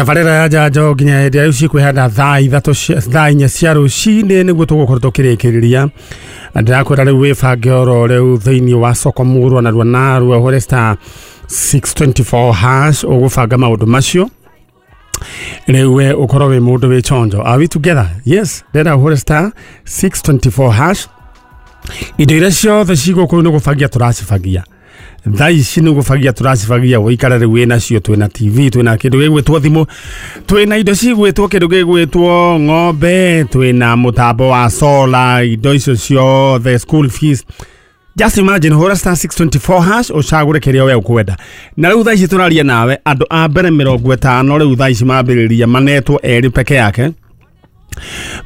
Tabarĩra ya njanjo nginya hĩndĩ ya rĩu cikwĩhanda thaa ithatũ thaa inya cia rũcinĩ nĩguo tũgũkorwo tũkĩrĩkĩrĩria. Ndĩrakwĩra rĩu wĩbange oro rĩu thĩinĩ wa soko mũrwa narua narua ũhũre star 624 hash ũgũbanga maũndũ macio rĩu we ũkorwo wĩ mũndũ wĩ chonjo. Are we together? Yes, ndĩrenda ũhũre star 624 hash. Indo iria ciothe cigũkũ nĩ gũbangia tũracibangia thaa ici nĩ gũbangia tũracibangia ũikare rĩu wĩ nacio. Twĩna TV, twĩna kĩndũ gĩgwĩtwo thimũ, twĩna indo cigwĩtwo kĩndũ gĩgwĩtwo ng'ombe, twĩna mũtambo wa solar, indo icio ciothe, school fees. Just imagine, hũra star 624 hash ũcagũre kĩrĩa we ũkwenda. Na rĩu thaa ici tũraria nawe andũ a mbere 50 rĩu thaa ici mambĩrĩria manetwo erĩ peke yake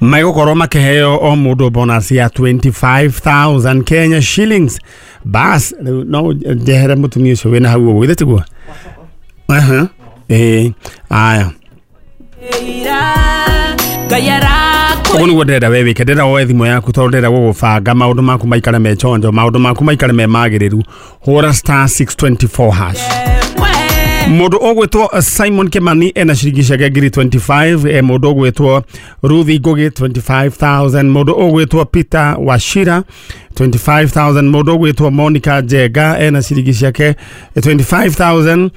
megũkorwo makĩheo o mũndũ bonus ya 25,000 Kenya shillings. Bas rĩu no njehere mũtumia ũcio wĩna hau ũguo, githĩ tiguo? Aha, ĩĩ, aya, ũguo nĩguo ndĩrenda we wĩke. Ndĩrenda woe thimũ yaku tondũ ndĩrenda gũgũbanga maũndũ maku maikare me chonjo, maũndũ maku maikare me magĩrĩru. Hũra star 624 hash. Mũndũ ũgwĩtwo Simon Kimani ena ciringi ciake ngiri 25, mũndũ ũgwĩtwo Ruthi Ngugi 25,000, mũndũ ũgwĩtwo Peter Wachira 25,000, mũndũ ũgwĩtwo Monica Njenga ena ciringi ciake 25,000.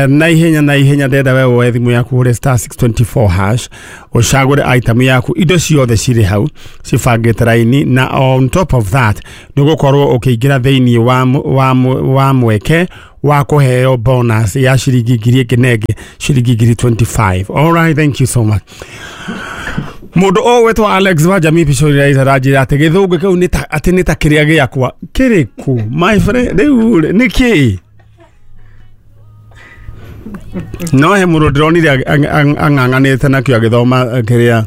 Na ihenya na ihenya ndenda we woe thimũ yaku ũhũre star 624 hash ũcagũre item yaku. Indo ciothe cirĩ hau cibangĩte raini, na on top of that nĩ ũgũkorwo ũkĩingĩra thĩinĩ wa mweke wa kũheo bonus ya ciringi ngiri ĩngĩ na ĩngĩ, ciringi ngiri 25. All right, thank you so much. Mũndũ ũgwĩtwo Alex wa Jamii Pictorializer aranjĩra atĩ gĩthũngũ kĩu nĩ ta atĩ nĩ ta kĩrĩa gĩakwa kĩrĩkũ, my friend. Rĩu rĩ, nĩ kĩĩ? No he mũndũ ndĩronire ang'ang'anĩte nakĩo agĩthoma kĩrĩa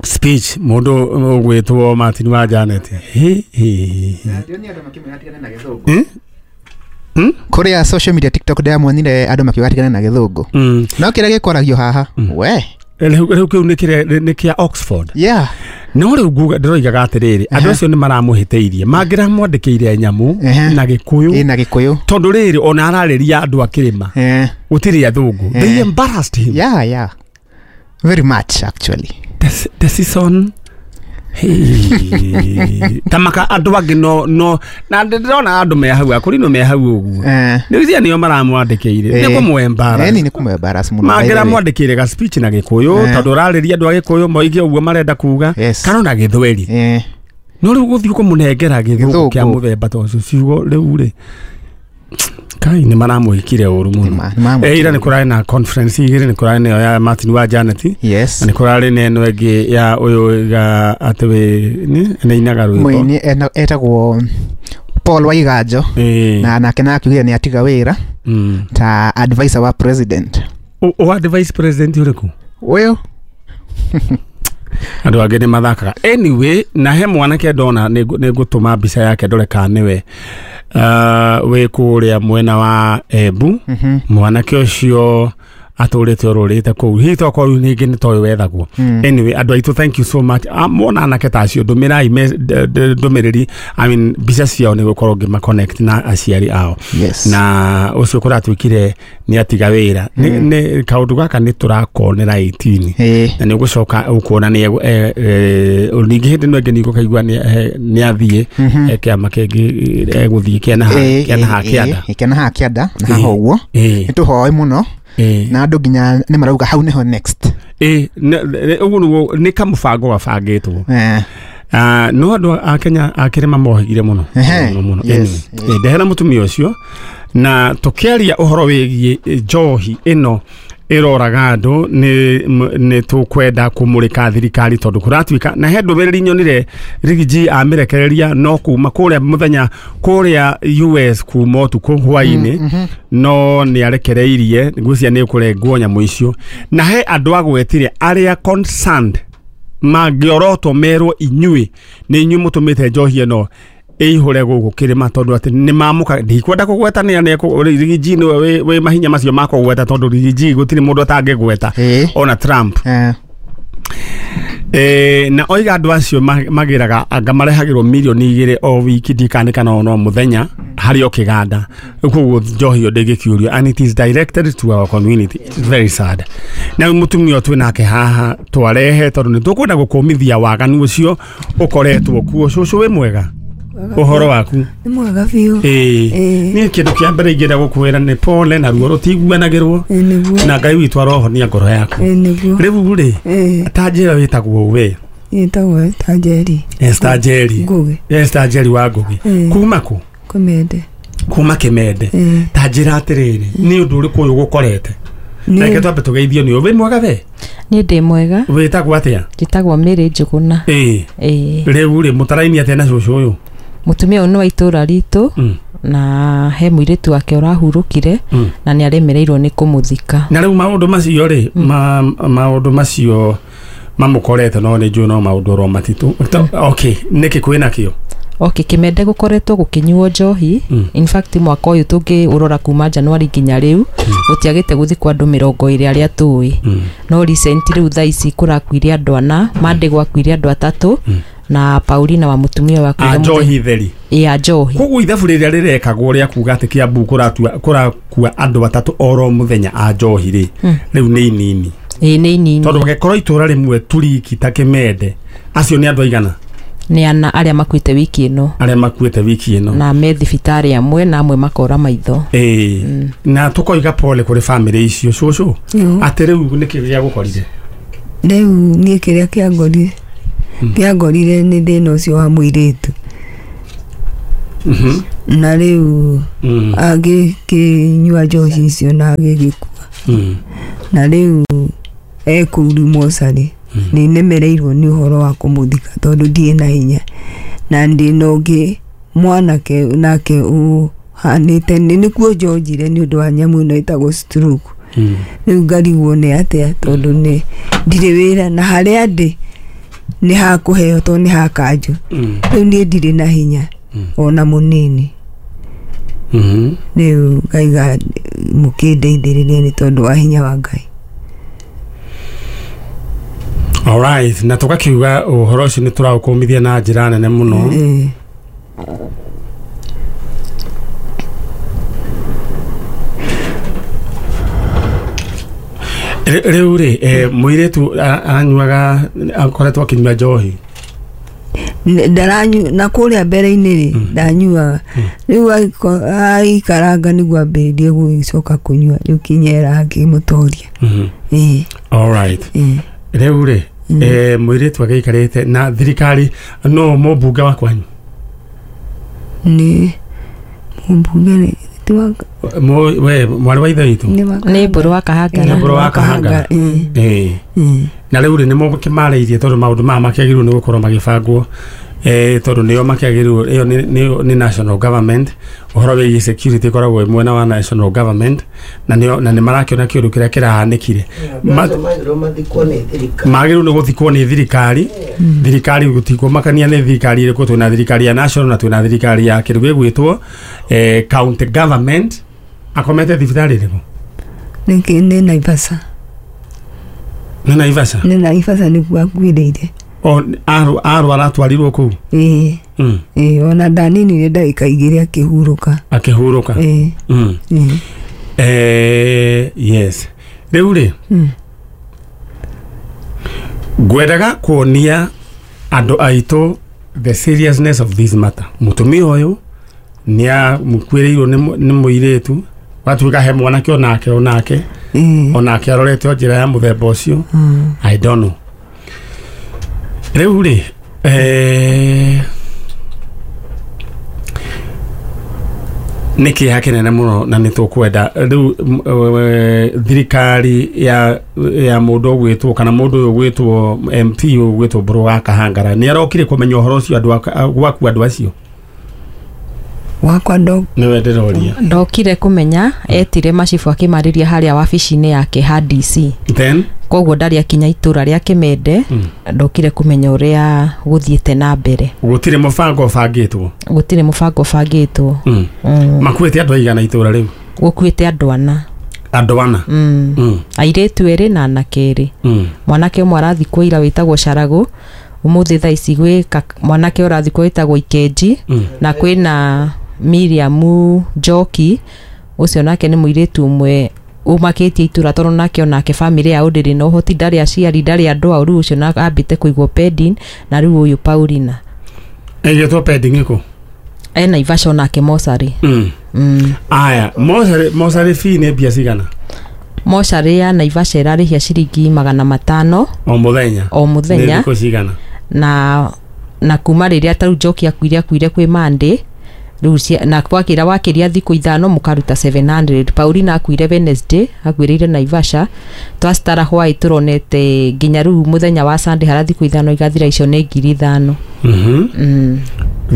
speech, mũndũ ũgwĩtwo Martin wa Janet. Hi, hi, hi, hi. Hmm? Hmm? Kũrĩa social media, TikTok, ndĩramuonire andũ makiuga atigane na gĩthũngũ. No kĩrĩa gĩkwaragio haha we. Rĩu kĩu nĩ kĩrĩa nĩ kĩa Oxford. No rĩu nguga ndĩroigaga atĩrĩrĩ, andũ acio nĩ maramũhĩtĩirie, mangĩramwandĩkĩire nyamũ na Gĩkũyũ. Ĩ, na Gĩkũyũ. Tondũ rĩrĩ ona ararĩria andũ a kĩrĩma, gũtirĩ athũngũ. They embarrassed him. Yeah, very much actually. The season. Hey. Tamaka andũ angĩ no na ndĩrona andũ me hau akũrinũ me hau ũguo. Nĩ icia nĩo maramwandĩkĩire nĩ kũmwembara. Ĩni nĩ kũmwembarrass mũno, by the way. Mangĩramwandĩkĩire ga speech na Gĩkũyũ, tondũ ũrarĩria andũ a Gĩkũyũ moige ũguo marenda kuga, kana ona Gĩthweri. No rĩu gũthiĩ kũmũnengera gĩthũngũ Gĩthũngũ. kĩa mũthemba ta ũcio, ciugo rĩu rĩ, kai nĩ maramwĩkire ũru mũno. Nĩmaramwĩkire. Ira nĩ kũrarĩ na conference igĩrĩ, nĩ kũrarĩ nayo ya Martin wa Janet na nĩ kũrarĩ na ĩno ĩngĩ ya ũyũ ga atĩ wĩ nĩ ainaga rwĩmbo. Mũini etagwo Paul Waiganjo. Na nake nakiugire nĩ atiga wĩra ta advisor wa president. O vice president ũrĩkũ? Ũyũ. Andũ angĩ nĩ mathakaga. Anyway, na he mwanake ndona, nĩ ngũtũma mbica yake ndore kana nĩwe, wĩ kũrĩa mwena wa Embu. Mwanake ũcio atũrĩte ũrũrĩte kũu, hihi tokorwo rĩu ningĩ nĩ toĩ wethagwo. Anyway, andũ aitũ, thank you so much. Ah, mwona anake ta acio, ndũmĩrai ndũmĩrĩri, I mean, mbica ciao nĩ gũkorwo ngĩma connect na aciari ao. Na ũcio kũratuĩkire nĩ atiga wĩra. Nĩ kaũndũ gaka nĩ tũrakonera 18 na nĩ ũgũcoka ũkuona nĩ ningĩ hĩndĩ ĩno ĩngĩ nĩ ũkaigua nĩ athiĩ kĩama kĩngĩ, egũthiĩ kĩana ha kĩanda. Kĩana haha kĩanda na haha ũguo. Nĩ tũhoe mũno na andũ nginya nĩ marauga hau nĩho next. Ĩ, ũguo nĩguo nĩ kamũbango gabangĩtwo. Ah, no andũ a Kenya a kĩrĩma mohĩgire mũno mũno mũno. Anyway, ndehera mũtumia ũcio na tũkĩaria ũhoro wĩgiĩ njohi ĩno ĩroraga andũ. Nĩ tũkwenda kũmũrĩka thirikari tondũ kũratuĩka na he ndũmĩrĩri nyonire Riggy amĩrekereria no kuma kũrĩa mũthenya kũrĩa US kuma ũtukũ hwainĩ, no nĩ arekereirie ngwĩciria nĩ ũkũrengwo nyamũ icio, na he andũ agwetire arĩa concerned mangĩorotwo merwo inyuĩ nĩ inyuĩ mũtũmĩte njohi ĩno ĩihũre gũkũ kĩrĩma, tondũ atĩ nĩ mamũka. Ndikwenda kũgweta nĩ Riggy G nĩwe wĩ mahinya macio ma kũgweta, tondũ Riggy G gũtirĩ mũndũ atangĩgweta, ona Trump. Na oiga andũ acio magĩraga anga marehagĩrwo mirioni 2 o wiki ndikane kana ono mũthenya harĩ o kĩganda. Koguo njohi ĩyo ndĩngĩkĩũrio and it is directed to our community. It's very sad. Na mũtumia twĩ nake haha twarehe tondũ nĩ tũkwenda gũkũmithia waganu ũcio ũkoretwo kuo. Cũcũ wĩ mwega? Ũhoro waku? Nĩ mwega biũ. Niĩ kĩndũ kĩa mbere ingĩenda gũkwĩra nĩ pole na ruo rũtiguanagĩrwo na Ngai witũ arohonia ngoro yaku. Rĩu rĩ ta njĩra wĩtagwo we? Wĩtagwo Esther Njeri. Esther Njeri. Ngũgĩ. Esther Njeri wa Ngũgĩ. Kuma kũ? Kĩmende. Kuma Kĩmende. Ta njĩra atĩrĩrĩ, nĩ ũndũ ũrĩkũ ũyũ gũkorete? Reke twambe tũgeithio nĩ wĩ mwega we? Niĩ ndĩ mwega. Wĩtagwo atĩa? Njĩtagwo Mary Njũgũna. Rĩu rĩ mũtaraini atĩa na cũcũ ũyũ? Mũtumia ũyũ nĩ wa itũra ritũ na he mũirĩtu wake ũrahurũkire na nĩ aremereirwo nĩ kũmũthika. Na rĩu maũndũ macio rĩ maũndũ macio mamũkorete no nĩ njũĩ no maũndũ oro matitũ. Okay, nĩkĩ kwĩna kĩo? Okay, Kĩmende gũkoretwo gũkĩnyuo njohi. In fact mwaka ũyũ tũngĩũrora kuma January nginya rĩu gũtiagĩte gũthikwo andũ 20 arĩa tũĩ. No recent rĩu thaa ici kũrakuire andũ 4, Monday gwakuire andũ 3 na Paulina wa mũtumia wa kuire njohi theri. Ya njohi. Koguo ithabu rĩrĩa rĩrekagwo rĩa kuga atĩ Kiambu kũrakua andũ 3 oro mũthenya a njohi rĩ rĩu nĩ inini. Ĩĩ nĩ inini. Tondũ gũgĩkorwo itũra rĩmwe turiki ta Kĩmende acio nĩ andũ aigana? Nĩ ana arĩa makuĩte wiki ĩno. Arĩa makuĩte wiki ĩno. Na me thibitarĩ amwe na amwe makora maitho. Na tũkoiga pole kũrĩ family icio cũcũ. Atĩ rĩu nĩkĩ gĩa gũkorire? Rĩu niĩ kĩrĩa kĩangorire kĩangorire nĩ thĩna ũcio wa mũirĩtu. Na rĩu agĩkĩnyua njohi icio na agĩgĩkua. Na rĩu ekũu mocarĩ nĩ nemereirwo nĩ ũhoro wa kũmũthika tondũ ndirĩ na hinya na ndĩ na ũngĩ mwanake nake ũhanĩte nĩkuo njonjire nĩ ũndũ wa nyamũ ĩno ĩtagwo stroke. Rĩu ngarigwo nĩ atĩa tondũ nĩ ndirĩ wĩra na harĩa ndĩ nĩ hakũheo tondũ nĩ hakanjũ. Rĩu niĩ ndirĩ na hinya ona mũnini. Rĩu ngaiga mũkĩndeithĩrĩrie nĩ tondũ wa hinya wa Ngai. All right, na tukakiuga ũhoro ũcio nĩ tũraũkũmithia na njĩra nene mũno. Rĩu rĩ mũirĩtu anyuaga akoretwo akĩnyua njohi? Ndaranyu na kũrĩa mbere-inĩ rĩ ndanyuaga. Rĩu aikaranga nĩguo ambĩrĩrie gũcoka kũnyua rĩu kinyera akĩmũtoria. All right. Rĩu rĩ mũirĩtu agĩikarĩte na thirikari no mũmbunge wa kwanyu? Nĩ mũmbunge we mwarĩ wa ithe witũ? Nĩ Mbũrũ wa Kahangara. Nĩ Mbũrũ wa Kahangara. Na rĩu rĩ nĩ mũkĩmarĩirie tondũ maũndũ maya makĩagĩrĩirwo nĩ gũkorwo magĩbangwo tondũ nĩo makĩagĩrĩirwo ĩyo nĩ national government. Ũhoro wĩgiĩ security ĩkoragwo ĩ mwena wa national government na nĩ marakĩona kĩũndũ kĩrĩa kĩrahanĩkire. Magĩrĩirwo nĩ gũthikwo nĩ thirikari. Thirikari gũtikũmakania nĩ thirikari ĩrĩkũ, twĩna thirikari ya national na twĩna thirikari ya kĩndũ gĩgwĩtwo county government. Akomete thibitarĩ ĩrĩkũ? Nĩ Naivasha. Nĩ Naivasha? Nĩ Naivasha nĩkuo akuĩrĩire. Arwara atwarirwo kũu? Ĩĩ. Ona ndaninire ndagĩka 2 akĩhurũka. Akĩhurũka. Yes. Rĩu rĩ ngwendaga kuonia andũ aitũ the seriousness of this matter. Mũtumia ũyũ nĩ amũkuĩrĩirwo nĩ mũirĩtu watuĩka he mwanake onake onake arorete o njĩra ya mũthemba ũcio. I don't know. Rĩu rĩ nĩ kĩeha kĩnene mũno na nĩ tũkwenda rĩu thirikari ya mũndũ ũgwĩtwo kana mũndũ ũyũ ũgwĩtwo MP ũgwĩtwo Mbũrũ wa Kahangara nĩ arokire kũmenya ũhoro ũcio andũ gwaku andũ acio? Wakwa nĩwe ndĩroria. Ndokire kũmenya etire macibũ akĩmarĩria harĩa wabici-inĩ yake ha DC. Then koguo ndarĩ akinya itũra rĩa Kĩmende ndokire kũmenya ũrĩa gũthiĩte na mbere. Gũtirĩ mũbango ũbangĩtwo? Gũtirĩ mũbango ũbangĩtwo. Makuĩte andũ aigana itũra rĩu? Gũkuĩte andũ 4. Andũ ana. Airĩtu erĩ na anake erĩ. Mwanake ũmwe arathikwo ira wĩtagwo Caragu, ũmũthĩ thaa ici gwĩ mwanake ũrathikwo wĩtagwo Ikenji, na kwĩna Miriam Njoki, ũcio nake nĩ mũirĩtu ũmwe umakĩtie itura tondũ nake onake famĩlĩ yao ndĩrĩ na ũhoti, ndarĩ aciari, ndarĩ andũ ao, rĩu ũcio ambĩte kũigwo pending, na rĩu ũyũ Paulina ĩgĩtwo pending ĩkũ? E Naivasha onake mocarĩ. Aya, mocarĩ fee nĩ mbia cigana? Mocarĩ ya Naivasha ĩrarĩhia ciringi 500 o mũthenya. O mũthenya. Nĩ thikũ cigana? Na kuma rĩrĩa tarĩu Njoki akuire kwĩ Monday, rĩu na kwakĩra wakĩria thikũ 5 mũkaruta 700. Paulina akuire Wednesday, akuĩrĩire Naivasha, twacitara hwaĩ tũronete nginya rĩu mũthenya wa Sunday hara thikũ 5 igathira, icio nĩ 5,000.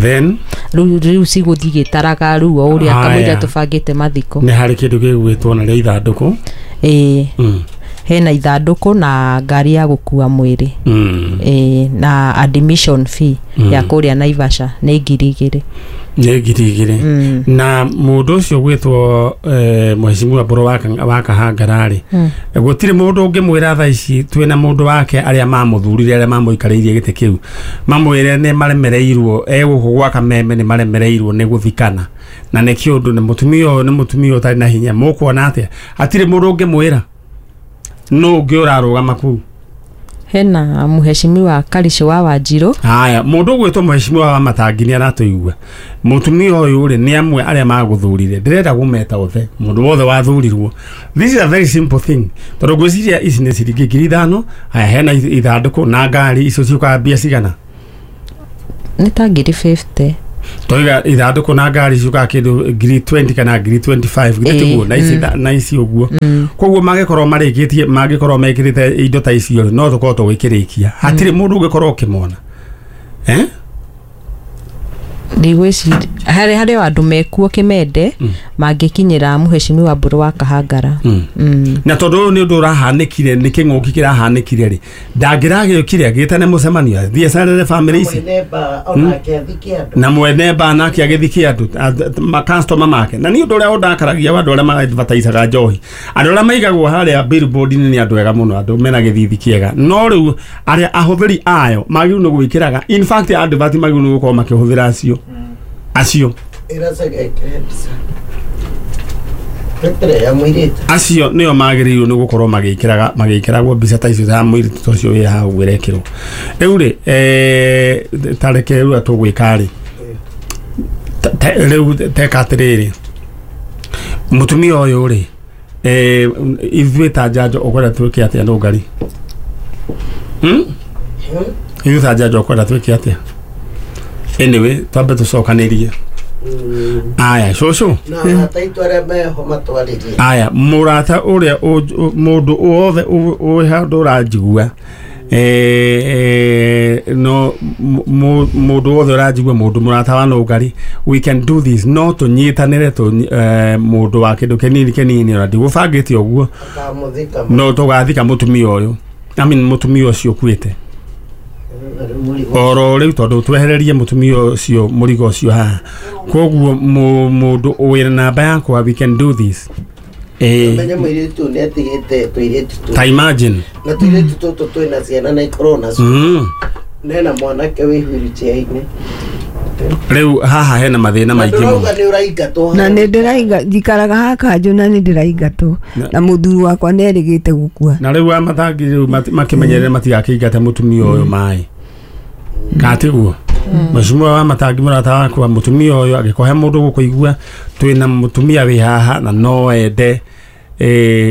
Then rĩu cigũthiĩ gĩtaraga rĩu o ũrĩa kamũira tũbangĩte mathiko. Nĩ harĩ kĩndũ gĩgwĩtwo na rĩa ithandũkũ. Ĩĩ. Hena ithandũkũ na ngari ya gũkua mwĩrĩ. Na admission fee ya kũrĩa Naivasha nĩ 2,000. Nĩ 2,000. Na mũndũ ũcio gwĩtwo Mheshimiwa Mbũrũ wa Kahangara rĩ, gũtirĩ mũndũ ũngĩmwĩra thaa ici twĩna mũndũ wake arĩa mamũthurire, arĩa mamũikarĩirie gĩtĩ kĩu, mamwĩre nĩ maremereirwo, egũkũ gwa Kameme nĩ maremereirwo nĩ gũthikana, na nĩ kĩũndũ nĩ mũtumia ũyũ, nĩ mũtumia ũtarĩ na hinya. Mũkuona atĩa? Hatirĩ mũndũ ũngĩmwĩra? Nũ ũngĩ ũrarũgama kũu? Hena Mheshimiwa Karisho wa Wanjirũ. Haya, mũndũ ũgwĩtwo Mheshimiwa wa Matangi nĩ aratũigua. Mũtumia ũyũ rĩ, nĩ amwe arĩa magũthurire. Ndĩrenda kũmeta othe, mũndũ wothe wathurirwo. This is a very simple thing. Tondũ ngwĩciria ici nĩ ciringi 5,000. Haya, hena ithandũkũ na ngari, icio ciũkaga mbia cigana? Nĩ ta 50,000. Toiga ithandũkũ na ngari ciũkaga kĩndũ 20,000 kana 25,000, githĩ tiguo? Na ici ũguo. Koguo mangĩkorwo marĩkĩtie, mangĩkorwo mekĩrĩte indo ta icio no tũkorwo tũgĩkĩrĩkia. Hatirĩ mũndũ ũngĩkorwo ũkĩmona. Ndigwĩciria harĩ andũ mekuo Kĩmende mangĩkinyĩra Mheshimiwa Mbũrũ wa Kahangara. Na tondũ ũyũ nĩ ũndũ ũrahanĩkire, nĩ kĩng'ũki kĩrahanĩkire rĩ, ndangĩragĩũkire agĩtane mũcemanio athiĩ acerere famĩlĩ ici na mwene ba nake agĩthikie andũ makastoma make. Na nĩ ũndũ ũrĩa ũndakaragia wa andũ arĩa ma-advertisaga njohi, andũ arĩa maigagwo harĩa billboard-inĩ nĩ andũ ega mũno, andũ mena gĩthithi kĩega, no rĩu arĩa ahũthĩri ayo magĩrĩirwo nĩ gwĩkĩraga, in fact advert magĩrĩirwo nĩ gũkorwo makĩhũthĩra acio acio nĩo magĩrĩirwo nĩ gũkorwo magĩkĩragwo mbica ta icio ta mũirĩtu ũcio wĩ haha ũguo ĩrekĩrwo. Rĩu rĩ, ta reke rĩu tũgwĩka rĩ, rĩu teka atĩrĩrĩ, mũtumia ũyũ rĩ, ithuĩ ta njanjo ũkwenda twĩke atĩa Nũngari? Ithuĩ ta njanjo ũkwenda twĩke atĩa? Anyway, twambe tũcokanĩrie. Aya, cũcũ. Aya, mũrata ũrĩa mũndũ wothe wĩ handũ ũranjigua, no mũndũ wothe ũranjigua, mũndũ mũrata wa Nũngari, we can do this. No tũnyitanĩre mũndũ wa kĩndũ kĩnini kĩnini, ona ndigũbangĩte ũguo, no tũgathika mũtumia ũyũ, I mean mũtumia ũcio ũkuĩte oro rĩu, tondũ twehererie mũtumia ũcio mũrigo ũcio haha. Koguo mũndũ wĩna namba yakwa, we can do this. Menye mũirĩtu nĩ atigĩte tũirĩtu tũu. Ta imagine. Na tũirĩtu tũtũ twĩna ciana na ikorwo nacio. Nena mwanake wĩ wheelchair-inĩ. Rĩu haha hena mathĩna maingĩ mũno. Ndũrauga nĩ ũraingatwo. Na nĩ ndĩrainga, njikaraga haha kanjũ na nĩ ndĩraingatwo. Na mũthuri wakwa nĩ erĩgĩte gũkua. Na rĩu amatangi rĩu makĩmenyerere matigakĩingate mũtumia ũyũ maĩ. Katiguo. Mheshimiwa wa Matangi mũrata wakwa, mũtumia ũyũ angĩkorwo he mũndũ gũkũigua, twĩna mũtumia wĩ haha na no ende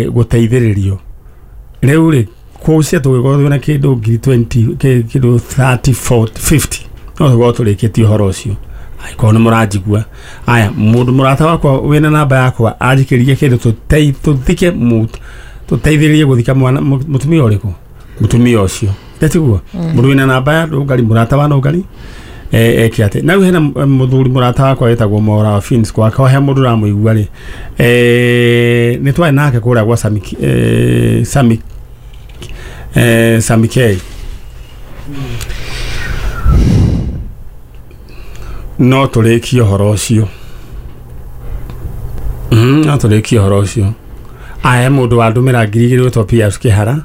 gũteithĩrĩrio. Rĩu rĩ, kũcia tũgĩkorwo twĩna kĩndũ 20,000, kĩndũ 30, 40, 50, no tũkorwo tũrĩkĩtie ũhoro ũcio. Angĩkorwo nĩ mũranjigua. Aya, mũndũ mũrata wakwa wĩna namba yakwa anjikĩrie kĩndũ tũthike tũteithĩrĩrie gũthika mwana mũtumia ũrĩkũ? Mũtumia ũcio. Tiguo? Mũndũ wĩna namba ya Nũngari, mũrata wa Nũngari, eke atĩ. Na rĩu hena mũthuri mũrata wakwa wĩtagwo Mora wa Fins, gwakwa he mũndũ ũramũigua rĩ, nĩ twarĩ nake kũrĩa gwa Sami K. No tũrĩkie ũhoro ũcio. No tũrĩkie ũhoro ũcio. Aya mũndũ wa ndũmĩra 2000 wĩtwo PS Kĩhara.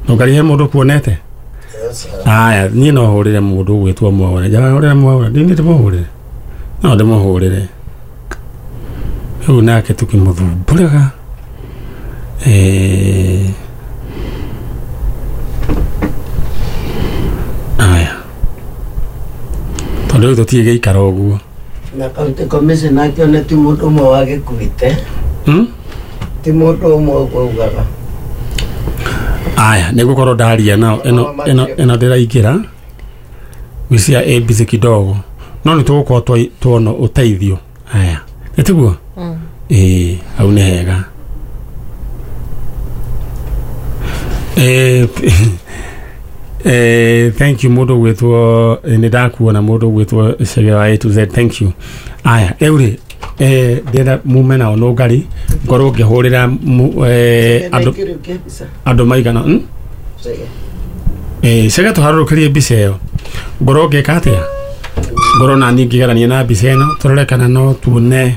Ndũngarihe mũndũ kuonete. Aya niĩ no hũrĩre mũndũ ũgwĩtwo Mwaũra. Njara hũrĩre Mwaũra, ndini ndĩmũhũrĩre. No ndĩmũhũrĩre. Rĩu nake tukĩmũthumbũraga. Aya. Tondũ rĩu tũtirĩ gĩikaro ũguo. Na county commissioner akĩone ti mũndũ ũmwe wagĩkuĩte. Ti mũndũ ũmwe ũguo augaga. Aya, nĩgũkorwo ndaria nao ĩno ndĩraingĩra gwĩcia ABC kidogo. No nĩ tũgũkorwo tuona ũteithio. Aya. Nĩ tiguo? Ĩĩ, hau nĩ hega. Thank you mũndũ gwĩtwo nĩ ndakuona mũndũ gwĩtwo Chege wa A to Z, thank you. Aya, rĩu rĩ ndĩrenda mume nao nũngari ngorwo ngĩhũrĩra andũ maigana. Chege tũharũrũkĩrie mbica ĩyo ngorwo ngĩka atĩa, ngorwo nani ngĩgerania na mbica ĩno tũrore kana no tuone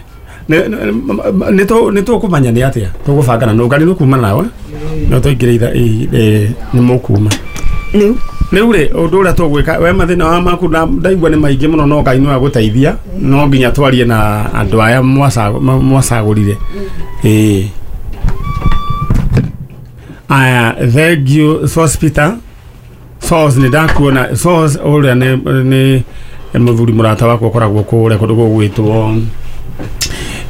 nĩ tũkũmanya nĩ atĩa tũgũbangana nũngari nĩ kuma nawe no tũingĩre nĩ mũkuma. Rĩu rĩ ũndũ ũrĩa tũgwĩka we mathĩna wa maku ndaigua nĩ maingĩ mũno no Ngai no agũteithia no nginya twarie na andũ aya mwacagũrire. Aya, thank you Source Peter. Source nĩ ndakuona. Source ũrĩa nĩ mũthuri mũrata wakwa ũkoragwo kũrĩa kũndũ gũgwĩtwo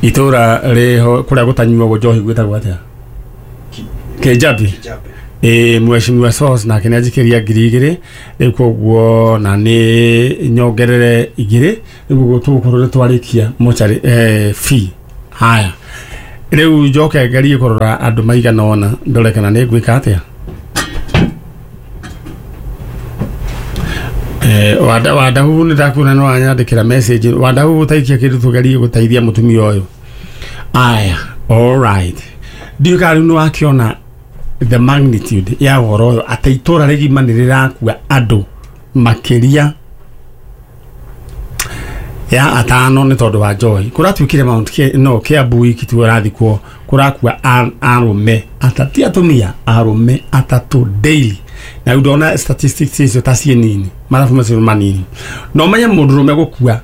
itũra rĩho kũrĩa gũtanyuagwo njohi gwĩtagwo atĩa? Kĩnjabi. Mheshimiwa Source nake nĩ anjikĩria 2000 rĩu koguo na nĩ nyongerere 2 rĩu tũgũkorwo nĩ twarĩkia mocarĩ fee. Haya, rĩu njoke ngerie kũrora andũ maigana ũna ndore kana nĩ ngwĩka atĩa. Wandahu nĩ ndakuona no wanyandĩkĩra message. Wandahu ũtaikia kĩndũ tũgerie gũteithia mũtumia ũyũ. Aya, all right. Ndiũĩ kana rĩu nĩ wakĩona the magnitude ya ũhoro ũyũ atĩ itũra rĩgima nĩ rĩrakua andũ makĩria ya atano nĩ tondũ wa njohi. Kũratuĩkire Mount no Kiambu wiki tu ũrathikwo kũrakua arũme atatũ, ti atumia, arũme atatũ daily. Na rĩu ndona statistics icio ta ciĩ nini, mathabu macio manini. No menye mũndũrũme gũkua.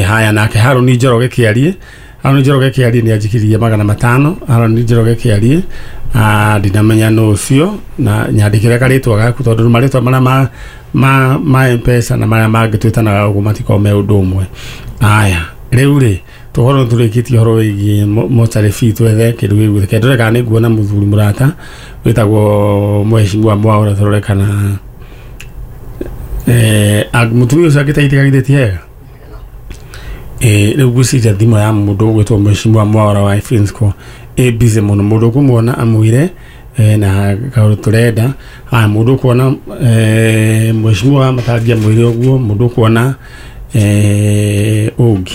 Haya, nake Harũni Njoroge kĩarie. Harũni Njoroge kĩarie nĩ anjikĩrie 500. Harũni Njoroge kĩarie ndinamenya nũ ũcio na nyandĩkĩre karĩtwa gaku tondũ marĩtwa marĩa ma M-Pesa na marĩa mangĩ twĩtanaga ũguo matikoragwo me ũndũ ũmwe. Aya, rĩu rĩ tũkorwo tũrĩkĩtie ũhoro wĩgiĩ mocarĩ fee twethe kĩndũ gĩgwĩte. Ke ndore kana nĩ nguona mũthuri mũrata wĩtagwo Mheshimiwa Mwaũra tũrore kana mũtumia ũcio angĩteithĩka githĩ ti hega. Rĩu ngwĩciria thimũ ya mũndũ ũgwĩtwo Mheshimiwa Mwaũra wa Finsco ĩ busy mũno. Mũndũ ũkũmuona amwĩre na kaũndũ tũrenda. Haya, mũndũ ũkuona Mheshimiwa wa Matangi amwĩre ũguo. Mũndũ ũkuona ũngĩ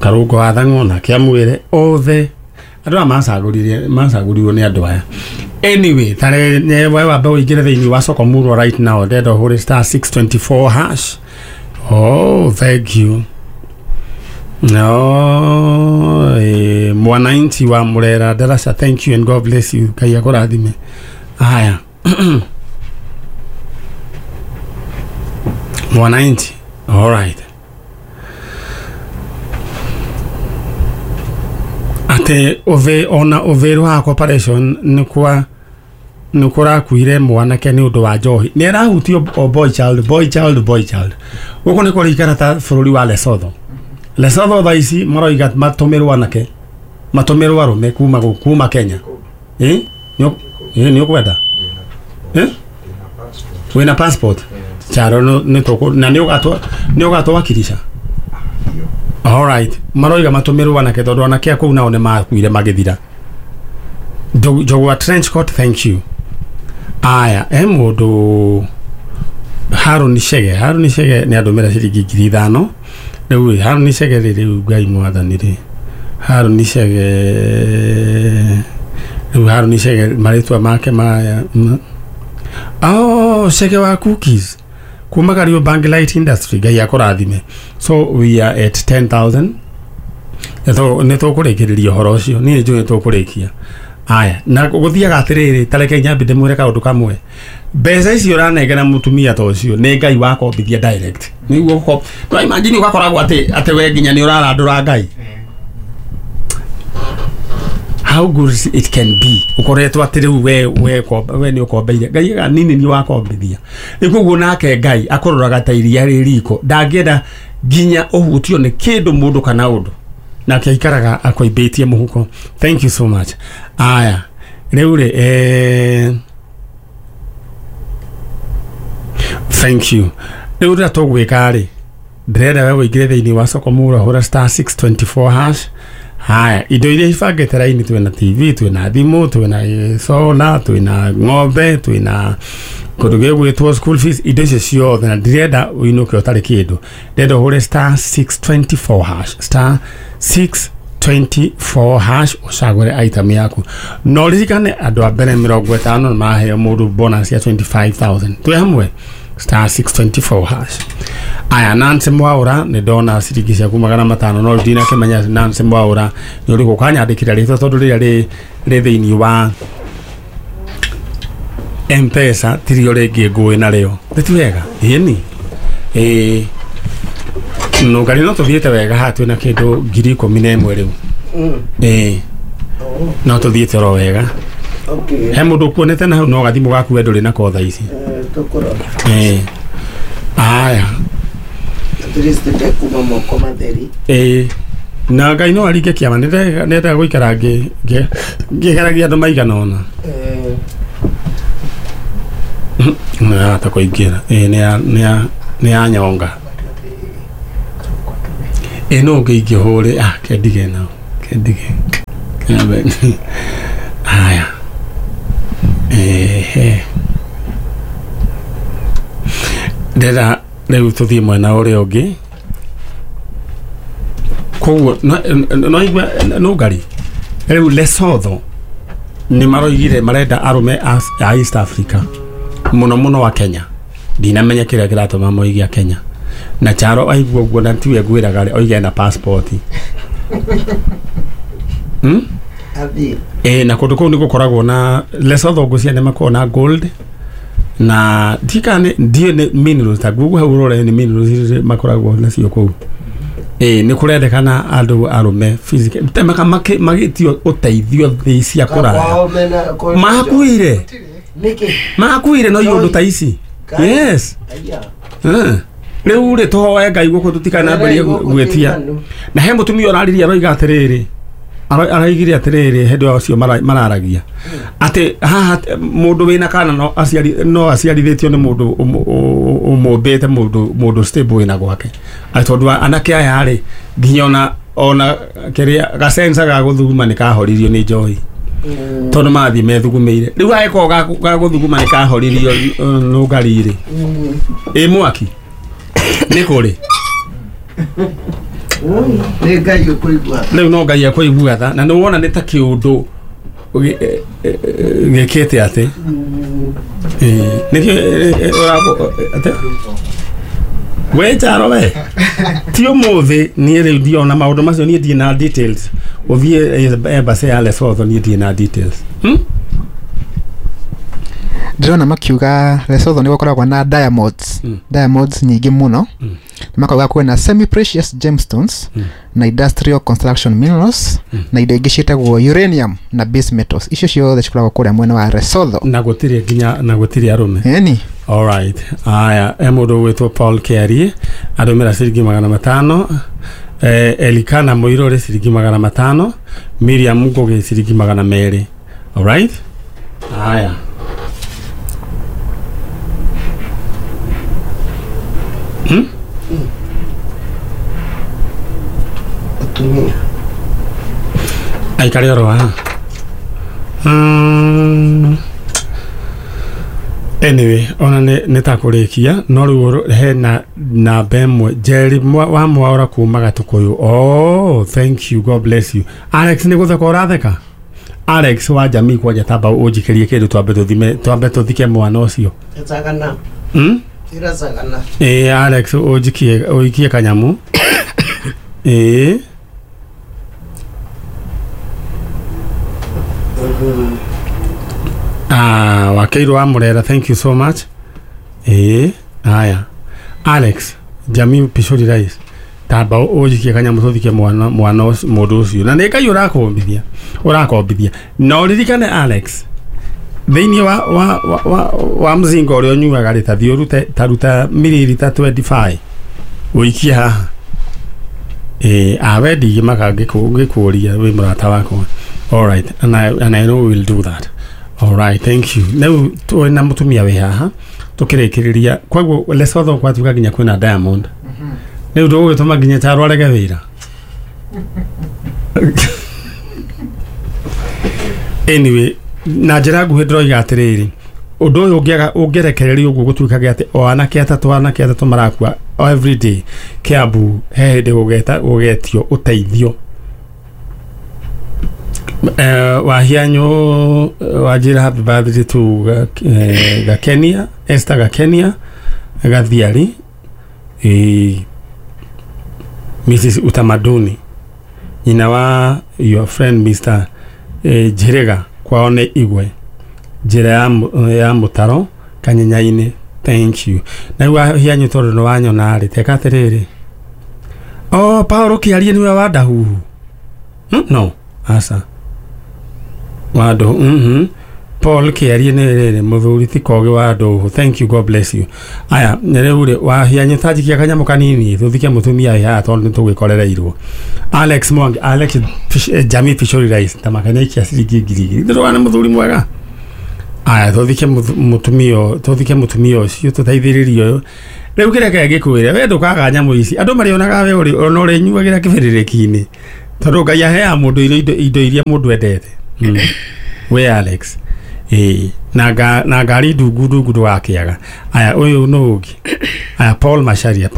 Karũngo wa Thang'o nake amwĩre. Othe andũ aya macagũrirwo nĩ andũ aya. Anyway, tare we wambe ũingĩre thĩinĩ wa soko murwa right now. Ndenda ũhũre *624 hash. Oh, thank you. No, mwananchi wa Murera Darasa, thank you and God bless you. Ngai akũrathime. Haya. Mwananchi. All right. Ate ove ona overu ha corporation nĩ nĩ kũrakuire mwanake nĩ ũndũ wa njohi. Nĩ arahutio o boy child, boy child, boy child. Gũkũ nĩ kũrĩikara ta bũrũri wa Lesotho. Lesotho thaa ici maroiga matũmĩrwo anake, matũmĩrwo arũme kuma Kenya. Nĩ ũkwenda? Wĩna passport? Charo nĩ tũkũ na nĩ ũgatwakirisha. All right. Maroiga matũmĩrwo anake tondũ anake a kũu nao nĩ makuire magĩthira. Njogwa trench coat, thank you. Aya, mũndũ Harũni Chege. Harũni Chege nĩ andũmĩra ciringi 5000. Rĩu Harũni Chege rĩ Ngai mwathani rĩ. Harũni Chege rĩu Harũni Chege marĩtwa make maya. Oh, Chege wa cookies kuma Kariobangi Light Industry. Ngai akũrathime. So we are at 10,000. Nĩ tũkũrĩkĩrĩria ũhoro ũcio niĩ njũĩ tũkũrĩkia. Aya na gũthiaga atĩrĩrĩ tareke nyambe ndĩmwĩre kaũndũ kamwe. Mbeca icio ũranengera mũtumia ta ũcio nĩ Ngai wakombithia direct. Nĩguo no imagine ũgakoragwo atĩ we nginya nĩ ũrarandũra Ngai. How good it can be ukoretwo atĩ rĩu we nĩ ũkombeire Ngai ga nini nĩ wakombithia. Rĩu koguo nake Ngai akũroraga ta iria rĩ riko ndangĩenda nginya ũhutio nĩ kĩndũ mũndũ kana ũndũ nake aikaraga akũimbĩtie mũhuko. Thank you so much. Aya rĩu rĩ thank you. Rĩu rĩrĩa tũgwĩka rĩ ndĩrenda we wĩingĩre thĩinĩ wa soko mũra hũra *624 hash. Haya indo iria ibangĩte raini twĩna TV twĩna thimũ twĩna solar twĩna ng'ombe twĩna kũndũ gĩgwĩtwo school fees indo icio ciothe na ndirenda ũinũke ũtarĩ kĩndũ. Ndĩrenda ũhũre *624 hash *624 hash ũcagũre item yaku. No ririkane andũ a mbere 50 nĩ maheo mũndũ bonus ya 25,000. Twĩ hamwe *624 hash. Aya Nancy Mwaura nĩ ndona ciringi ciaku 500 no ndinakĩmenya Nancy Mwaura nĩ ũrĩkũ kanyandĩkĩra rĩtwa tondũ rĩrĩa rĩ thĩinĩ wa M-Pesa tirio rĩngĩ ngũĩ narĩo. Nĩ wega ĩni no ngari no tũthiĩte wega haha twĩna kĩndũ 11,000 rĩu. No tũthiĩte oro wega. He mũndũ ũkuonete na hau no gathimũ gaku we ndũrĩ nako thaa ici. Aya kuma moko matheri. Na Ngai no aringe kĩama nĩndendaga gũikara ngĩgeragia andũ maigana ũna. Nĩ kũingĩra nĩ ya nyonga. No ngĩingĩhũre kendige nao kendige. Aya ndĩrenda rĩu tũthiĩ mwena ũrĩa ũngĩ. Koguo no igua no ngari rĩu Lesotho nĩ maroigire marenda arũme a East Africa mũno mũno wa Kenya. Ndinamenya kĩrĩa kĩratũma moige a Kenya. Na Charo aigua ũguo na tiwe ngwĩraga rĩ oige na passport. Na kũndũ kũu nĩ gũkoragwo na Lesotho ngũcia nĩ makoragwo na gold na ndikane ndiĩ nĩ minerals ta Google hau ũrore nĩ minerals makoragwo nacio kũu. Nĩ kũrendekana andũ arũme physical temaka magĩtio ũteithio thĩ cia kũraya. Makuire. Makuire no iũndũ ta ici. Yes. Rĩu rĩ tũhoe Ngai gũkũ tũtikanambĩrĩrie gwĩtia. Na he mũtumia ũraririe aroiga atĩrĩrĩ araigire atĩrĩrĩ hĩndĩ acio mararagia atĩ haha mũndũ wĩna kana no aciari no aciarithĩtio nĩ mũndũ ũmũmbĩte mũndũ stable wĩna gwake. Atĩ tondũ anake aya rĩ nginya ona kĩrĩa gasensa ga gũthuguma nĩ kahoririo nĩ njohi. Tondũ mathiĩ methugumĩire. Rĩu angĩkorwo ga gũthuguma nĩ kahoririo nũngari rĩ. Ĩ mwaki nĩ kũrĩ. Nĩ Ngai ũkũigua. Rĩu no Ngai akũigua tha na nĩ wona nĩ ta kĩũndũ gĩkĩte atĩ. Nĩkĩo atĩ we Charo we ti ũmũthĩ niĩ rĩu ndiona maũndũ macio niĩ ndirĩ na details. Ũthiĩ embassy ya Lesotho niĩ ndirĩ na details. Ndĩrona makiuga Lesotho nĩ gũkoragwo na diamonds. Diamonds nyingĩ mũno. Makauga kwĩna semi precious gemstones na industrial construction minerals na indo ingĩ ciĩtagwo uranium na base metals. Icio ciothe cikoragwo kũrĩa mwena wa Lesotho. Na gũtirĩ nginya na gũtirĩ arũme. Ĩni. All right. Aya he mũndũ ũgwĩtwo Paul Kerry arũmĩra ciringi 500. Elikana Mũirũrĩ ciringi 500. Miriam Ngugi ciringi 200. All right. Aya. Atumia. Aikare oro haha. Anyway, ona nĩ ta kũrĩkia no rĩu hena namba ĩmwe Jerry wa Mwaura kuma Gatũkũyũ. Oh, thank you, God bless you. Alex nĩ gũtheka ũratheka? Alex wa jamii kwanja tamba ũnjikĩrie kĩndũ twambe tũthime twambe tũthike mwana ũcio. Ĩtagana. Ĩracagana. Alex ũnjikie ũikie kanyamu. Wakeirwo wa Murera, thank you so much. Haya Alex Jamii Pishori Rice, tamba ũnjikie kanyamũ tũthike mwana mũndũ ũcio na nĩ Ngai ũrakombithia na ũririkane Alex thĩinĩ wa mzinga ũrĩa ũnyuaga rĩ, tathiĩ ũrute taruta mililita 25 ũikie haha. Awe ndigĩmaka ngĩkũria wĩ mũrata wakwa. All right, and I know we will do that. All right, thank you. Rĩu twĩna mũtumia wĩ haha tũkĩrĩkĩrĩria. Koguo Lesotho gwatuĩka nginya kwĩna diamond. Rĩu ndũgũgĩtũma nginya Charo arege wĩra. Anyway, na njĩra nguhĩ ndĩroiga atĩrĩrĩ, ũndũ ũyũ ũngĩrekererio ũguo gũtuĩkage atĩ o anake atatũ marakua every day Kiambu, he hĩndĩ gũgetio ũteithio. Wahianyo wanjĩra happy birthday to Gakenia, Esther Gakenia Gathiari, Mrs. Utamaduni, nyina wa your friend Mr. Njiriga kwao nĩ Igwe, njĩra ya mũtaro Kanyenya-inĩ. Thank you. Na rĩu wahianyo tondũ nĩ wanyona rĩ, teka atĩrĩrĩ, o Paul Kĩarie nĩwe wa Ndahuhu? No, aca wa Ndũhũ. Paul Kĩarie nĩ rĩrĩ mũthuri ti Kogi wa Ndũhũ. Thank you, God bless you. Aya rĩu rĩ, wahianyo tanjikia kanyamũ kanini tũthike mũtumia wĩ haha tondũ nĩtũgĩkorereirwo. Alex Mwangi, Alex Jamii Pishori Rice, tamakania ikia ciringi 2,000. Ndĩrona nĩ mũthuri mwega. Aya tũthike mũtumia ũcio tũteithĩrĩrie ũyũ. Rĩu kĩrĩa kĩngĩkwĩra we ndũkaga nyamũ ici andũ marĩonaga we ũrĩ ona ũrĩnyuagĩra kĩbĩrĩrĩki-inĩ tondũ Ngai aheaga mũndũ indo iria mũndũ endete. We Alex, na ngari ndungu ndũgakĩaga. Aya ũyũ nũ ũngĩ? Aya Paul Macharia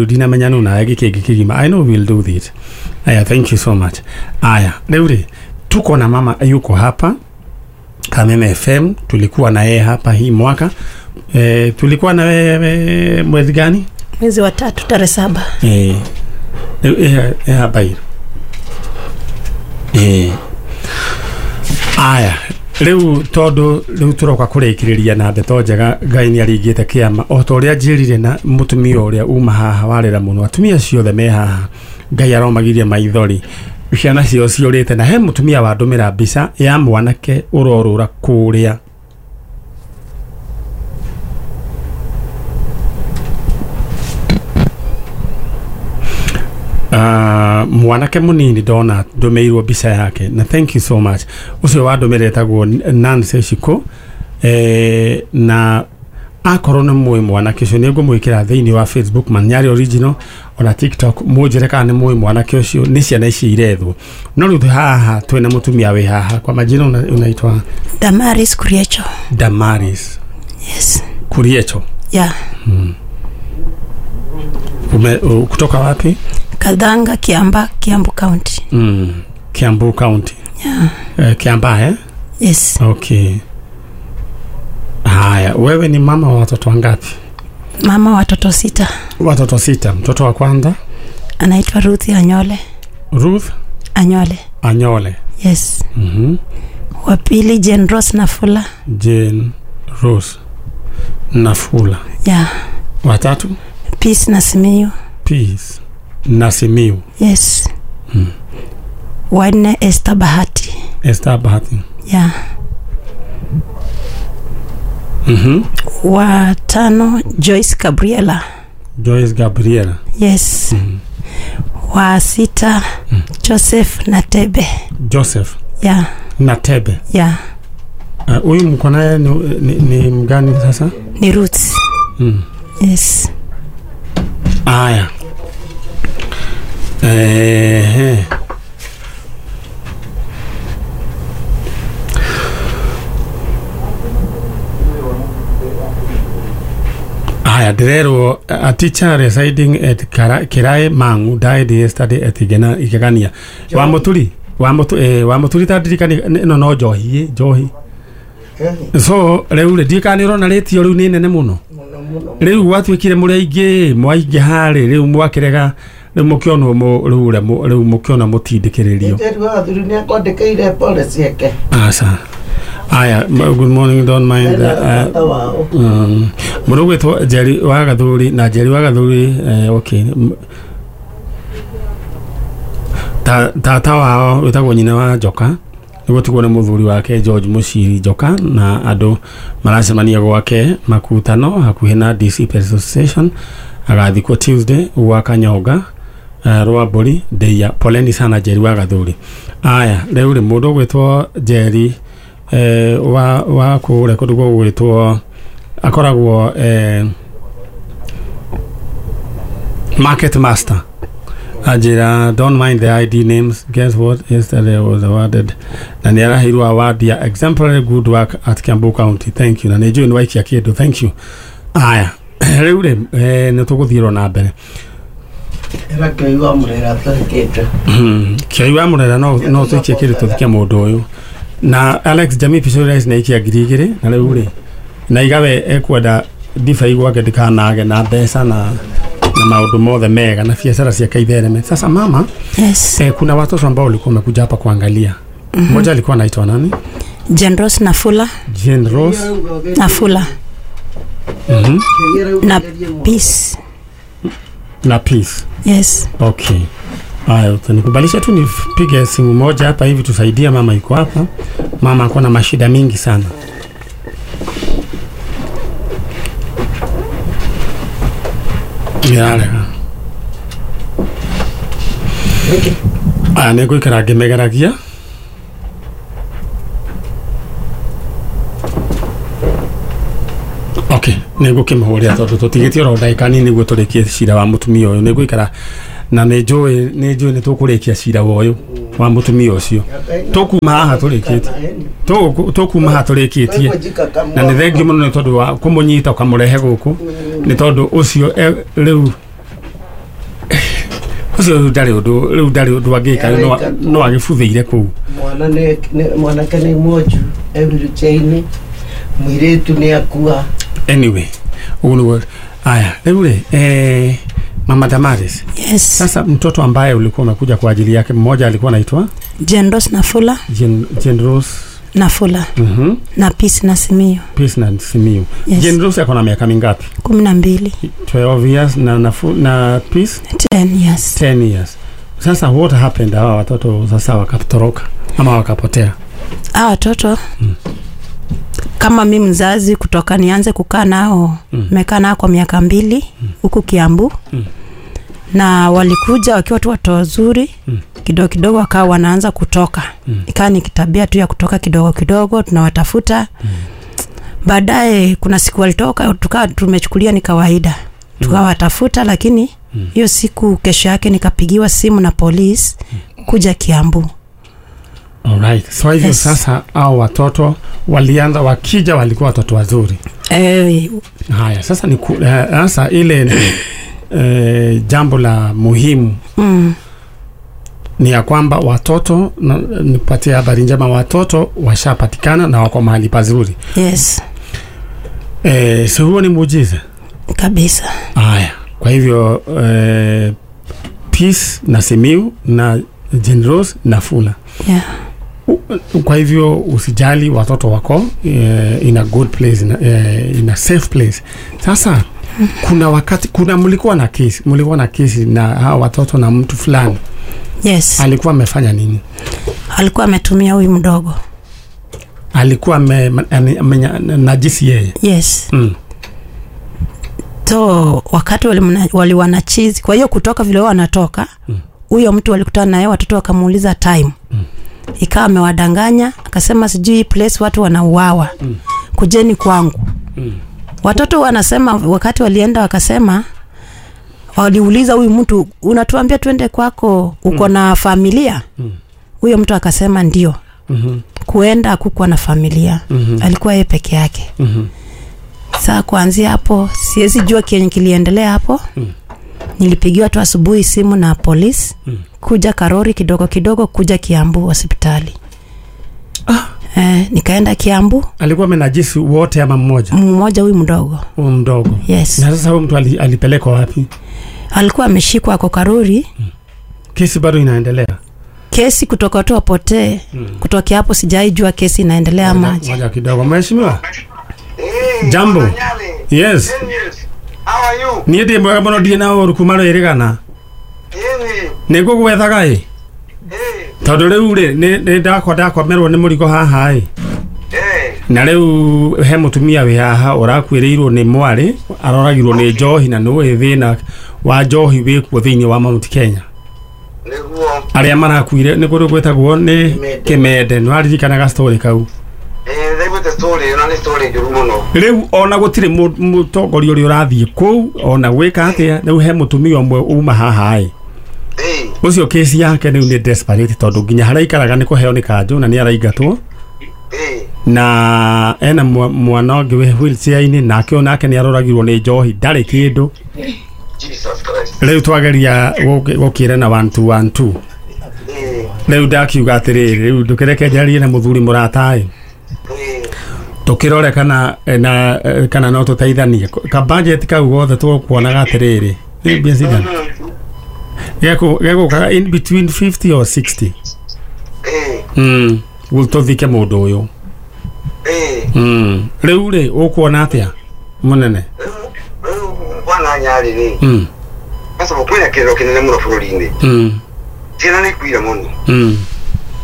ndinamenya nũ nawe gĩkĩngĩ kĩgima. I know we'll do this. Aya, thank you so much. Aya rĩu rĩ, tuko na mama yuko hapa Kameme FM, tulikuwa na yeye hapa hii mwaka. Tulikuwa na wewe mwezi gani? Mwezi wa 3 tarehe 7. Hapa hii. Aya, rĩu tondũ rĩu tũroka kũrĩkĩrĩria na ndeto njega, Ngai nĩ aringĩte kĩama o ta ũrĩa njĩrire na mũtumia ũrĩa uma haha warĩra mũno, atumia ciothe me haha Ngai aromagirie maithori, ciana ciao ciũrĩte. Na he mũtumia wandũmĩra mbica ya mwanake ũrorũra kũrĩa mwanake munini ndona ndũmĩirwo mbica yake, na thank you so much. Ũcio wandũmĩra etagwo Nancy Shiko, na akorwo nĩ mũĩ mwanake ũcio nĩ ngũmwĩkĩra thĩinĩ wa Facebook Manyari Original ona TikTok, mũnjĩre kana nĩ mũĩ mwanake ũcio, nĩ ciana ici irethwo. No rĩu haha twĩna mũtumia wĩ haha, kwa majina unaitwa Damaris Kuriecho. Damaris. Yes. Kuriecho. Yeah. Kutoka wapi? Kadhanga, Kiamba, Kiambu County. Kiambu County. Yeah. Kiamba, eh? Yes. Okay. Haya, wewe ni mama wa watoto wangapi? Mama wa watoto 6. Watoto 6. Mtoto wa kwanza anaitwa Ruth Anyole. Ruth Anyole. Anyole. Yes. Wa pili Jane Rose Nafula. Jane Rose Nafula. Yeah. Wa tatu Peace Nasimiyu. Peace Nasimiyu. Yes. Wa nne Esther Bahati. Esther Bahati. Yeah. Wa tano Joyce Gabriela. Joyce Gabriela. Yes. Wa sita Joseph Natebe. Joseph. Yeah. Natebe. Yeah. Huyu mko naye ni mgani sasa? Ni Ruth. Yes. Aya. Aya, Derero, a teacher residing at Kirai Mangu died yesterday at Igegania. Wa Muturi tadirikani no no njohi njohi. So rĩu rĩ ndikani ũrona rĩtio rĩu nĩ nene mũno. Rĩu gwatuĩkire mũrĩ aingĩ mwaingĩ harĩ rĩu mwakĩrega Rĩu mũkĩonwo rĩu mũkĩona mũtindĩkĩrĩrio. Njeri wa Gathuri nĩ akwandĩkĩire pole ciake. Aca. Aya, good morning, don't mind. Mũndũ ũgwĩtwo Njeri wa Gathuri na Njeri wa Gathuri, okay. Tata wao wĩtagwo nyina wa Njoka nĩgũtigwo nĩ mũthuri wake George Muciri Njoka na andũ maracemania gwake Makutano hakuhĩ na DC Petrol Station. Agathikwo Tuesday gwa Kanyonga Rwambũri Ndeia. Poleni sana Njeri wa Gathuri. Aya, rĩu rĩ mũndũ ũgwĩtwo Njeri wa kũrĩa kũndũ gũgwĩtwo akoragwo Market Master. Ajira, don't mind the ID names. Guess what? Yesterday was awarded. Na nĩ araheirwo award ya exemplary good work at Kiambu County. Thank you. Na nĩ njũĩ nĩ waikia kĩndũ. Thank you. Aya, rĩu rĩ nĩ tũgũthiĩrwo na mbere. Ĩra Kĩoi wa Mũrera tũhikĩte. Kĩoi wa Mũrera no tũikie kĩndũ tũthike mũndũ ũyũ. Na Alex Jamii Pisorius nĩ aikia 2000 na rĩu rĩ na igawe ekwenda ndibei gwake ndikanage na mbeca na maũndũ mothe mega na biashara ciake ithereme. Sasa mama, yes. Kuna watoto ambao walikuwa wamekuja hapa kuangalia. Mmoja alikuwa anaitwa nani? Jane Rose Nafula. Jane Rose Nafula. Na Peace. Na Peace. Yes. Okay. Haya, utanikubalisha tu nipige simu moja hapa hivi tusaidie mama yuko hapa. Mama ako na mashida mingi sana. Yale. Nĩ ngũikara ngĩmegeragia. Okay, nĩ ngũkĩmũhũrĩra tondũ tũtigĩtie oro ndagĩka nini nĩguo tũrĩkie cira wa mũtumia ũyũ. Nĩ ngũikara na nĩ njũĩ nĩ tũkũrĩkia cira ũyũ wa mũtumia ũcio. Tũkuma haha tũrĩkĩtie. Tũkuma haha tũrĩkĩtie. Na nĩ thengiũ mũno nĩ tondũ wa kũmũnyita ũkamũrehe gũkũ. Nĩ tondũ ũcio rĩu ũcio ndarĩ ũndũ rĩu ndarĩ ũndũ angĩka no agĩbuthĩire kũu. Mwanake nĩ mwonju e wheelchair-inĩ, mũirĩtu nĩ akua. Anyway, ũguo nĩguo. Aya, rĩu rĩ Mama Damaris. Yes. Sasa mtoto ambaye ulikuwa umekuja kwa ajili yake mmoja alikuwa anaitwa Jane Rose Nafula. Jane Rose Nafula. Na Peace na Simiyu. Peace na Simiyu. Yes. Jane Rose ako na miaka mingapi? 12. 12 years na na Peace 10 years. 10 years. Sasa what happened hawa watoto sasa wakatoroka ama wakapotea? Hawa watoto kama mimi mzazi kutoka nianze kukaa nao, nimekaa nao kwa miaka 2 huku Kiambu. Na walikuja wakiwa tu watu wazuri, kidogo kidogo wakawa wanaanza kutoka. Ikawa ni kitabia tu ya kutoka kidogo kidogo, tunawatafuta. Baadaye kuna siku walitoka, tukawa tumechukulia ni kawaida. Tukawatafuta, lakini hiyo siku kesho yake nikapigiwa simu na polisi kuja Kiambu. Alright. So hivyo yes. Sasa hao watoto walianza wakija walikuwa watoto wazuri. Haya, sasa ni sasa ile jambo la muhimu ni ya kwamba watoto, nipatie habari njema, watoto washapatikana na wako mahali pazuri. Yes. So huo ni muujiza kabisa. Haya, kwa hivyo Peace na Simiyu na Jane Rose na Fula. Yeah. Kwa hivyo usijali, watoto wako in a good place, in a safe place. Sasa kuna wakati kuna mlikuwa na kesi na hawa watoto na mtu fulani. Yes. Alikuwa amefanya nini? Alikuwa ametumia huyu mdogo. Alikuwa najisi yeye. Yes. So wakati waliwana chizi, kwa hiyo kutoka vile wao wanatoka, huyo mtu walikutana naye, watoto wakamuuliza time. Ikawa amewadanganya, akasema sijui place watu wanauawa. Kujeni kwangu. Watoto wanasema wakati walienda wakasema, waliuliza huyu mtu, unatuambia twende kwako, uko na familia? Huyo mtu akasema ndio. Kuenda hakukuwa na familia. Alikuwa yeye peke yake. Sasa kuanzia hapo siwezi jua kenye kiliendelea hapo. Nilipigiwa tu asubuhi simu na polisi kuja Karori kidogo kidogo kuja Kiambu hospitali. Nikaenda Kiambu. Alikuwa amenajisi wote ama mmoja? Mmoja, huyu mdogo. Huyu mdogo. Yes. Na sasa huyu mtu alipelekwa wapi? Alikuwa ameshikwa ako Karuri. Kesi bado inaendelea. Kesi kutoka tu apotee. Kutoka hapo sijaijua kesi inaendelea ama aje. Ngoja kidogo mheshimiwa. Jambo. Yes. How are you? Niĩ ndĩ mwega mũno ndirĩ na ũru kuma rwĩrĩgana. Nĩ ngũgwethaga ĩ. Tondũ rĩu rĩ nĩ ndakwamerwo nĩ mũrigo haha ĩ. Na rĩu he mũtumia wĩ haha ũrakuĩrĩirwo nĩ mwarĩ aroragirwo nĩ njohi na nĩũĩ thĩna wa njohi wĩkuo thĩinĩ wa Mount Kenya. Nĩguo. Arĩa marakuire nĩ kũndũ gwĩtagwo nĩ Kĩmende nĩ waririkanaga story kau. Ndaiguĩte story ĩno nĩ story njũru mũno. Rĩu ona gũtirĩ mũtongoria ũrĩa ũrathiĩ kũu ona gwĩka atĩa rĩu he mũtumia ũmwe uma haha ĩ. Ũcio kesi yake rĩu nĩ desperate tondũ nginya harĩa aikaraga nĩ kũheo nĩ kanjũ na nĩ araingatwo. Na ena mwana ũngĩ wĩ wheelchair-inĩ nake onake nĩ aroragirwo nĩ njohi ndarĩ kĩndũ. Jesus Christ. Rĩu twageria gũkĩrana 1 2 1 2. Rĩu ndakiuga atĩrĩrĩ rĩu ndũkĩreke njarie na mũthuri mũrata ĩ. Tukirore kana na kana no tũteithanie ka budget kau gothe tũkuonaga atĩrĩrĩ nĩ mbia cigana gegũkaga in between 50 or 60 gũtũthike mũndũ ũyũ. Rĩu rĩ ũkuona atĩa mũnene? Bwana Nyarĩ rĩ sasa kwĩna kĩrĩro kĩnene mũno bũrũri-inĩ. Ciana nĩ ikuire mũno.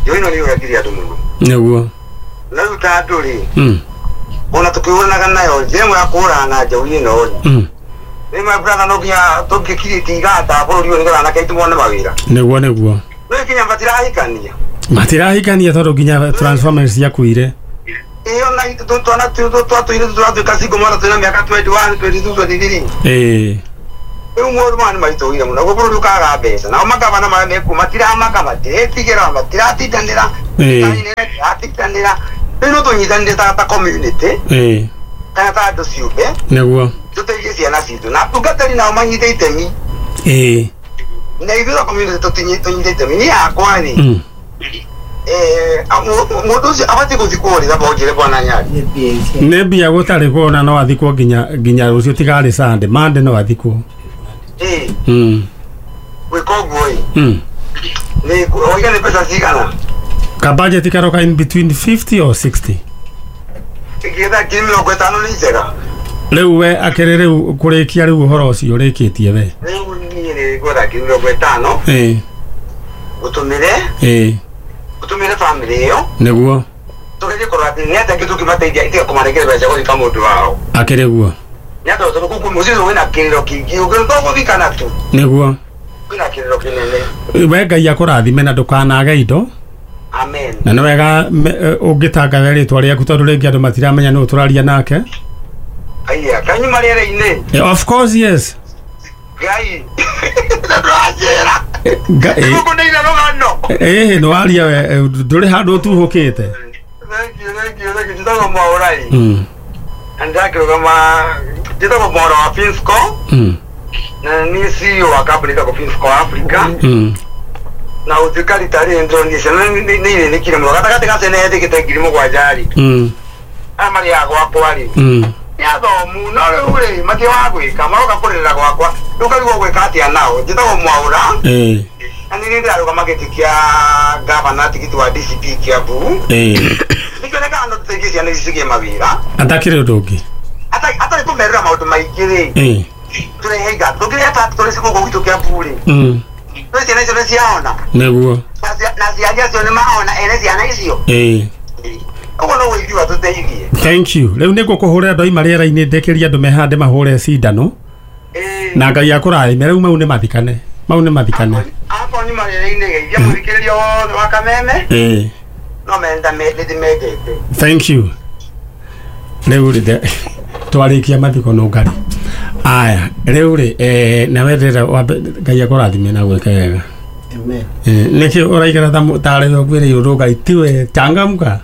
Njohi ĩno nĩ yũragire andũ mũno. Nĩguo. Na rĩu ta andũ rĩ ona tũkĩhũranaga nayo njĩra ĩmwe ya kũhũrana na njohi ĩno rĩ nĩ my brother no nginya tũngĩkirĩtie iganda bũrũri ũyũ nĩgetha anake aitũ mone mawĩra. Nĩguo nĩguo. No nginya matirahikania. Matirahikania tondũ nginya transformers ciakuire. Ĩyo na twana twatũire tũratuĩka single mother twĩna mĩaka 21 22 23. Rĩu maũndũ maya nĩ maritũhire mũno naguo bũrũri ũkaga mbeca nao magavana marĩa mekuo matiramaka matiretigĩra matiratindanĩra matiratindanĩra rĩu no tũnyitanĩre ta community kana ta andũ ciũmbe nĩguo tũteithie ciana citũ na atungatĩri nao manyite itemi na ithuĩ ta community tũnyite itemi. Niĩ hakwa rĩ mũndũ ũcio abatiĩ gũthikwo rĩ thamba ũnjĩre Bwana Nyarĩ. Nĩ mbia gũtarĩ kuona no athikwo nginya rũciũ tigarĩ Sunday Monday no athikwo. Gwĩka ũguo ĩ nĩ oiga nĩ mbeca cigana? Ka budget karoka in between 50 or 60. Ingĩetha 50,000 nĩ njega. Rĩu we akĩrĩ rĩu kũrĩkia rĩu ũhoro ũcio ũrĩkĩtie we. Rĩu niĩ nĩ ngwetha 50,000. Ũtũmĩre. Ũtũmĩre family ĩyo. Nĩguo. Tũgerie kũrora atĩ nĩ atĩa angĩ tũngĩmateithia itiga kũmanengera mbeca gũthika mũndũ wao. Akĩrĩ guo. Nĩ atĩ tondũ kũu mũciĩ ũcio wĩna kĩrĩro kĩingĩ ũngĩ gũthikana tu. Nĩguo. Kwĩna kĩrĩro kĩnene. We Ngai akũrathime na ndũkanage indo. Amen. Na nĩ wega ũngĩtangatha rĩtwa rĩaku tondũ rĩngĩ andũ matiramenya nũ tũraria nake. Aya, kanyuma rĩera-inĩ. Of course yes. Ngai. Ndũranjĩra. Ngai. Ngũkũneire rũgano. Nĩ waria we ndũrĩ handũ ũtuhũkĩte. Thank you, thank you, thank you. Njĩtagwo Mwaũrai. Na ndĩrakĩrũgama njĩtagwo Mwaũra wa Finsco. Na niĩ CEO wa kambuni ĩtagwo Finsco Africa. Na ũtuĩka rita rĩrĩ ndĩronire ciana nĩ irĩnĩkire mũno gatagatĩ ga ciana yetĩkĩte 7,000 rĩ. Aya marĩaga gwakwa rĩ. Nĩ athomu no rĩu rĩ matirĩ wa gwĩka maroka kũrĩrĩra gwakwa rĩu ũkarigwo gwĩka atĩa nao. Njĩtagwo Mwaũra. Na nĩ ndĩrarũgama gĩtĩ kĩa gavana tigiti wa DCP Kiambu. Nĩkĩonekaga no tũteithie ciana ici cigĩe mawĩra. Atakĩrĩ ũndũ ũngĩ. Atarĩ kũmerĩra maũndũ maingĩ rĩ. Tũrehe iganda tũngĩrehe factory gũkũ gwitũ Kiambu rĩ. No ciana icio nĩ ciaona. Nĩguo. Na aciari acio nĩ maona ene ciana icio. Ũguo no ũiguo tũteithie. Thank you. Rĩu nĩ ngũkũhũrĩra ndoima rĩera-inĩ ndĩkĩrie andũ mehande mahũre cindano. Na Ngai akũrathime rĩu mau nĩ mathikane. Mau nĩ mathikane. Akorwo nyuma rĩera-inĩ geithia mũthikĩrĩria wothe wa Kameme. No menda nĩndĩmendete. Thank you. Rĩu rĩ twarĩkia mathiko no ngari. Aya rĩu rĩ nawe ndĩrenda Ngai akũrathime na gwĩka wega. Amen. Nĩkĩ ũraikara tarĩ we ũkwĩrĩirwo ndũ Ngai tiwe changamka.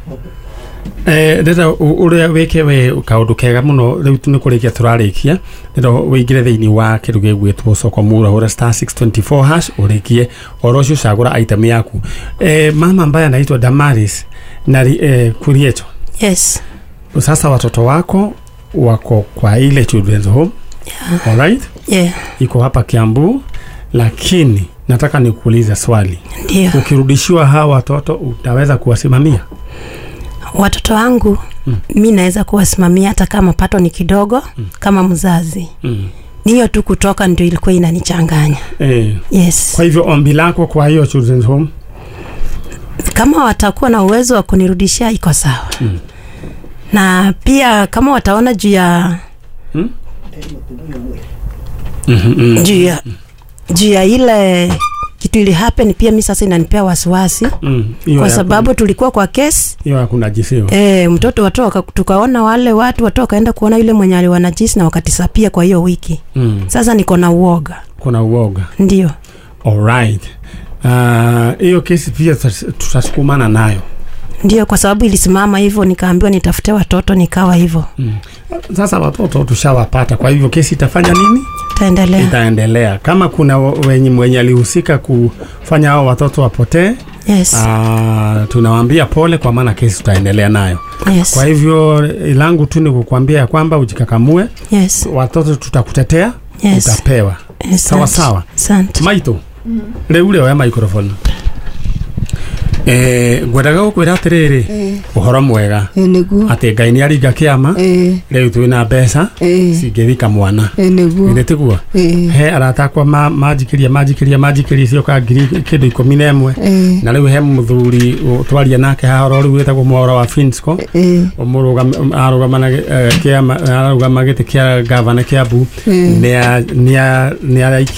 Ndĩrenda ũrĩa wĩke we kaũndũ kega mũno rĩu nĩ kũrĩkia tũrarĩkia ndĩrenda wĩingĩre thĩinĩ wa kĩndũ gĩgwĩtwo soko mura hũra star 624 hash ũrĩkie oro ũcio cagũra item yaku. Mama ambaye anaitwa Damaris na Kuriecho. Yes. Sasa watoto wako wako kwa ile children's home. Yeah. All right? Yeah, iko hapa Kiambu, lakini nataka nikuulize swali. ndio. Ukirudishiwa hawa watoto utaweza kuwasimamia? Watoto wangu mi naweza kuwasimamia hata kama pato ni kidogo kama mzazi. Ni hiyo tu kutoka ndio ilikuwa inanichanganya. Yes. Kwa hivyo ombi lako kwa hiyo children's home, Kama watakuwa na uwezo wa kunirudishia iko sawa. Na pia kama wataona juu ya juu ya ile kitu ili happen, pia mi sasa inanipea wasiwasi Hiyo kwa ya sababu tulikuwa kwa kesi hiyo ya kunajisiwa. Mtoto watu tukaona wale watu wakaenda kuona yule mwenye aliwanajisi na wakatisapia kwa hiyo wiki. Sasa niko na uoga. Kuna uoga. Ndio. Alright. Hiyo kesi pia tutasukumana nayo. Ndio, kwa sababu ilisimama hivyo, nikaambiwa nitafute watoto, nikawa hivyo. Sasa watoto tushawapata, kwa hivyo kesi itafanya nini? Taendelea. Itaendelea. Kama kuna mwenye alihusika kufanya hao watoto wapotee, Yes. tunawaambia pole, kwa maana kesi tutaendelea nayo. Yes. Kwa hivyo langu tu ni kukuambia ya kwamba ujikakamue. Yes. Watoto tutakutetea. Yes. Utapewa. Yes, Sawa asante. sawa. Asante. Maito, rĩu rĩ oya microphone. Ngwendaga gũkwĩra atĩrĩrĩ, ũhoro mwega Nĩguo. atĩ Ngai nĩ aringa kĩama, rĩu twĩna mbeca cingĩthika mwana. Nĩguo. Githĩ tiguo? He arata akwa manjikĩria cioka ngiri kĩndũ 11. Na rĩu he mũthuri twaria nake haha oro rĩu wĩtagwo Mwaura wa Finsco, arũgama kĩama, arũgama gĩtĩ kĩa gavana Kiambu, nĩ araikia.